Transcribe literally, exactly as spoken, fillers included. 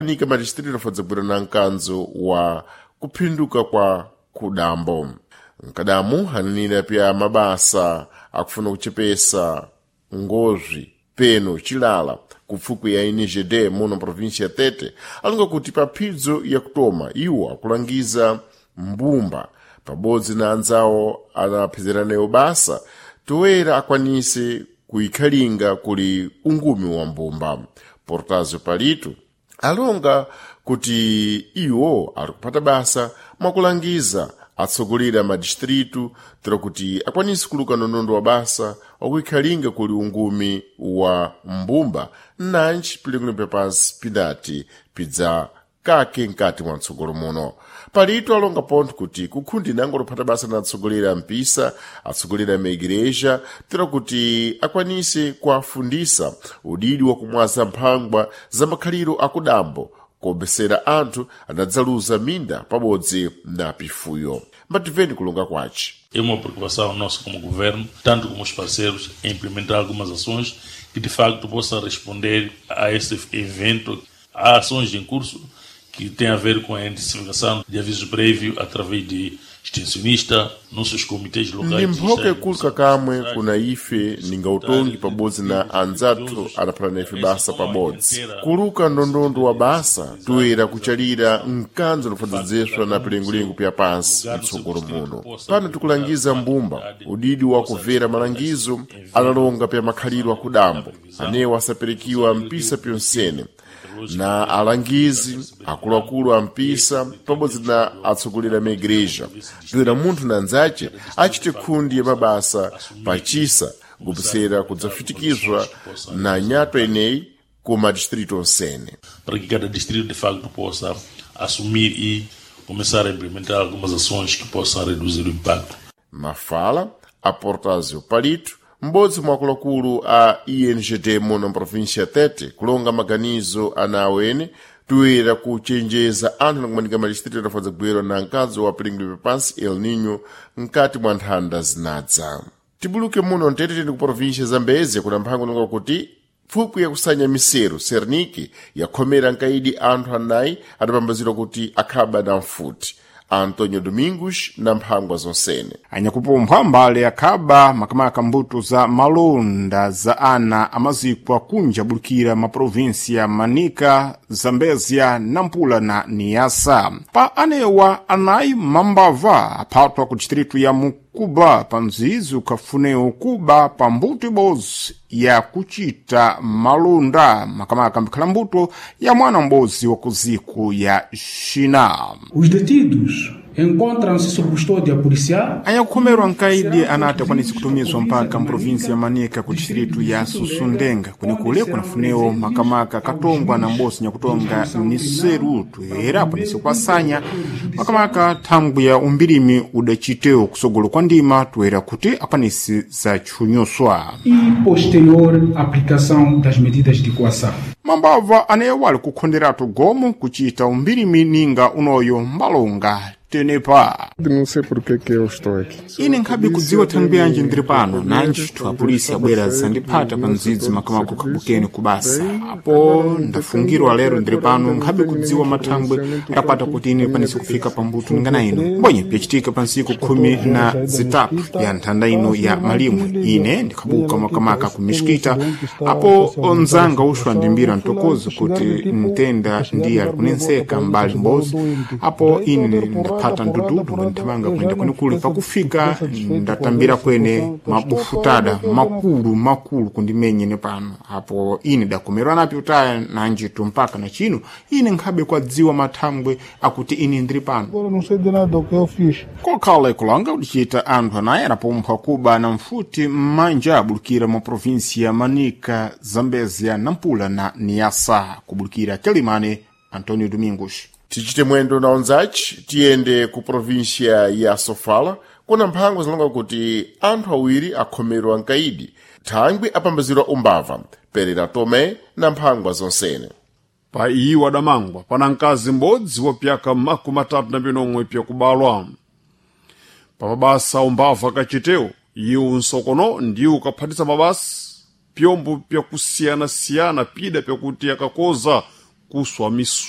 Nika madistrito afadzagwira na mkanzo wa kuphinduka kwa kudambo mkadamu ananena pya mabasa akufuna kuchepesa ngozvi peno chilala kupfukwi ya N G D muno província ya Tete alonga kuti pa phidzo yakutoma iwo akulangiza mbumba pabodzi na anzawo anaphezeranayo basa toera akwanise kuikhalinga kuli ungumi wa mbumba. Portazio Palito alonga kuti iwo ali kupata basa mwakulangiza atsogoleri a madistritu tira kuti akwanise kuluka ndondondo wa basa wakuikhalinga kuli ungumi wa mbumba nanji pilikulumpya pansi pidati pidza kake mkati mwa mtsogolo muno. Palito alonga pontho kuti kukhundi nango lophata basa na atsogoleri a mpisa, atsogoleri a maigereja tira kuti akwanise kuafundisa udidi wa kumwaza mphangwa za makhaliro akudambo kuombesera anthu anadzaluza minda pabodzi na pifuyo. Mbatimveni kulonga kwace. É uma preocupação nossa como governo, tanto como os parceiros, em implementar algumas ações que de facto possam responder a esse evento. Há ações em curso que têm a ver com a intensificação de aviso prévio através de extensionista, nossos comitês locais. Ndi mphoka ikuluka kamwe kuna ife ninga utongi pabodzi na anzathu adaphatana ife basa pabodzi kuluka ndondondo wa basa toera kuchalira mkanzo lofadzedzeswa na pilengolengo pya pansi mtsogolo muno. Pano tikulangiza mbumba udidi wa kumvera malangizo analonga pya makhaliro akudambo anewo asaperekiwa mpisa pyonsene na alangizi akuluakulu a mpisa pabodzi na atsogoleri a maigreja toera munthu na anzace achite khundi ya mabasa pachisa kupisera kudzafitikizwa na nyatwa ineyi ku madistrito onsene. Para que cada distrito de facto possa assumir e começar a implementar algumas ações que possam reduzir o impacto. Mafala a Portazio Palito, m'bodzi mwa akuluakulu a I N G D muno mprovíncia ya Tete, kulonga maganizo ana awene toera kuchenjeza anthu nakumanika madistrito adafadza kugwera na mkazi wa pilingilupe pansi El Nino mkati mwa nthanda zinadza. Tibuluke muno mtete tili ku província Zambezia kuna mphango nonga kuti pfupwi yakusanya miseru Serniki yakhomera nkaidi anthu anayi adapambazidwa kuti akhaba na mfuti. Antonio Domingos na mphangwa zonsene. Anyakupumpha mbale akhaba makamaka mbuto za malonda za ana amazikwa kunja bulukira maprovinsia Manika, Zambezia, Nampula na Niasa. Pa anewa anayi mambava aphatwa ku distritu ya Mukuba pa mzizi ukhafuneo kuba pa mbuto ibodzi ya kuchita malonda, makamaka mbikhala mbuto ya mwana m'bodzi wa kuziku ya Xina. Os detidos encontram-se sob custódia policial. Anyakukhomerwa nkaidi anati akwanise kutumizwa mpaka mprovinsi ya Manika ku distritu ya Sussundenga kwenekule kunafunewo makamaka katongwa na mbosi nyakutonga niseru toera akwanise kukwasanya makamaka thangwi ya umbirimi udacitewo kusogolo kwa ndima toera kuti akwanise zatchunyuswa. E posterior aplicação das medidas de coação. Mambava anewo ali kukhonderatu gomo kuchita umbirimi ninga unoyo mbalonga tenepa. Não sei por que que eu estou aqui. Ine nkhabe kudziwa thangwi yanji ndiri pano nanji thu apolisi abwera zandiphata pa mdzidzi makamaka kukhabukeni kubasa apo ndafungirwa lero ndiri pano nkhabe kudziwa mathangwe adapata kuti ine kwanise kufika pambuto ningana ino mbonye pyacitika pa ntsiku khumi na zitatu ya nthanda ino ya malimwe. Ine ndikhabuka makamaka ku mixikita apo onzanga uxwa ndimbira mtokozo kuti mtenda ndiye ali kunenseka mbali mbozi apo ine ndaphata ndududu nganthamanga kuyenda kwenikuli pakufika ndatambira kwene mabufutada makulu makulu kundimenyene pano apo ine dakomerwa napi utaya nanjitu mpaka na chino ine nkhabe kwadziwa mathangwe akuti ine ndiri pano. Agora não sei de nada o que eu fiz. Kokhala ikulanga kudichita anthu anayi anapumpha kuba na mfuti m'manja abulukira mu provinsi ya Manika, Zambezia, Nampula na Niasa. Kubulukira Quelimane, Antonio Domingos. Tichite mwendo na onzaci tiyende ku província ya Sofala kuna mphangwa zilonga kuti anthu awiri akhomerwa nkaidi thangwi apambazirwa umbava. Perera Tome na mphangwa zonsene. Pa iwo adamangwa pana mkazi m'bodzi wa pyaka makumi atatu na pinomwe pyakubalwa. Pa mabasa umbava kachitewo iwo nsokono ndiwo ukaphatisa mabasa pyombo pyakusiyana-siyana pida pyakuti akakoza kuswa misu